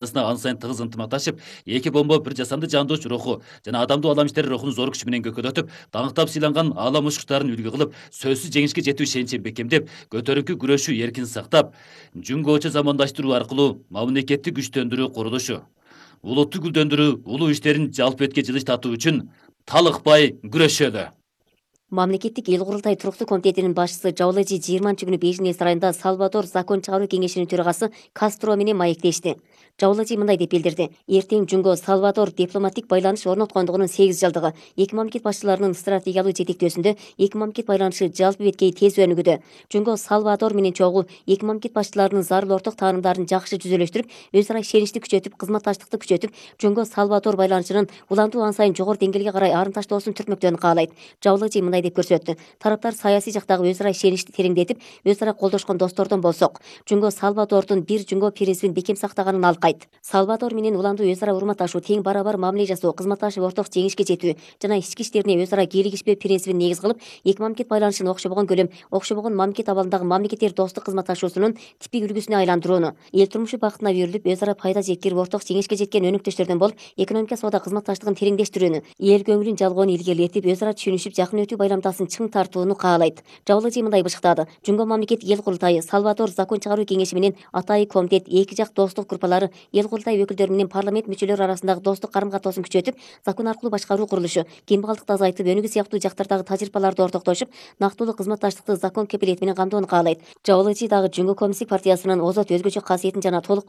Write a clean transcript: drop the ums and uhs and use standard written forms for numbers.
ан сайын тыгыз ынтымакташып, эки бомбо бир жасанды жандоочу руху жана адамдуу алам иштери рухун зор күч менен көкөдөтүп, даңктап сыйланган аалам учкучтарын үлгү кылып, сөзсүз жеңишке жетүү ишеничин бекемдеп, көтөрүкү күрөшүү эркин сактап, жүнгөөчө замандаштыруу аркылуу мамлекетти күчтөндүрүү курулушу, улутту гүлдөндүрүү, улуу иштерин жалпы этке жылыш татуу үчүн талыкпай күрөшөлү. Мамлекеттик эл курултай туруктуу комитетинин башчысы Жаулажи 20-күнү Бейжиңдеги сарайында Салвадор закон чыгаруу кеңешинин төрагасы Кастро менен маектешти. Жаулажи мындай деп билдирди: эртең Жунго Салвадор дипломатик байланыш орноткондугунун 8 жылдыгы. Эки мамлекет башчыларынын стратегиялык жетектөөсүндө эки мамлекет байланышы жалпы беткей тез өнүгүүдө. Жунго Салвадор менен чогуу эки мамлекет башчыларынын зарыл орток таанымдарын жакшы жүзөлөштүрүп, өз ара ишеничти күчөтүп, кызматташтыкты күчөтүп, Жунго Салвадор байланышынын улантуу ан сайын жогору деңгээлге карай арымташтоосун түртмөктөрүн каалайт. Жаулажи мындай деп көрсөттү: тараптар саясий жактагы өз ара ишеничти тереңдетип, өз ара колдошкон достордон болсок, Жунго Салвадордун бир Жунго принцибин бекем сактаганын алкайт. Салвадор менен уландуу өз ара урматташуу, тең барабар мамиле жасоо, кызматташып орток жеңишке жетүү жана ички иштерине өз ара кийлигишпөө принцибин негиз кылып, эки мамлекет байланышын окшобогон көлөм, окшобогон мамлекет абалындагы мамлекеттер достук кызматташуусунун типик үлгүсүнө айландырууну, эл турмушу бакытына берилип, өз ара пайда жеккирип, орток жеңишке жеткен өнөктөштөрдөн болуп, экономика соода кызматташтыгын тереңдештирүүнү, эл көңүлүн жалгоону илгерилетип, өз ара түшүнүшүп, жакын өтүү байламтасын чың тартууну каалайт. Жаулажи мындай бышыктады: Жунго мамлекет эл курултайы, Салвадор закон чыгаруу кеңеши менен атайы комитет, эки жак достук группалары, эл курултай өкүлдөрү менен парламент мүчөлөрү арасындагы достук карым-катоосын күчөтүп, закон аркылуу башкаруу курулушу, кембагалдыкты азайтып, өнүгүү сыяктуу жактардагы тажрыйбаларды ортоктошуп, нактылуу кызматташтыкты закон кепилети менен камдоону каалайт. Жаулажи дагы Жунго коммунисттик партиясынын озот өзгөчө касиетин жана толук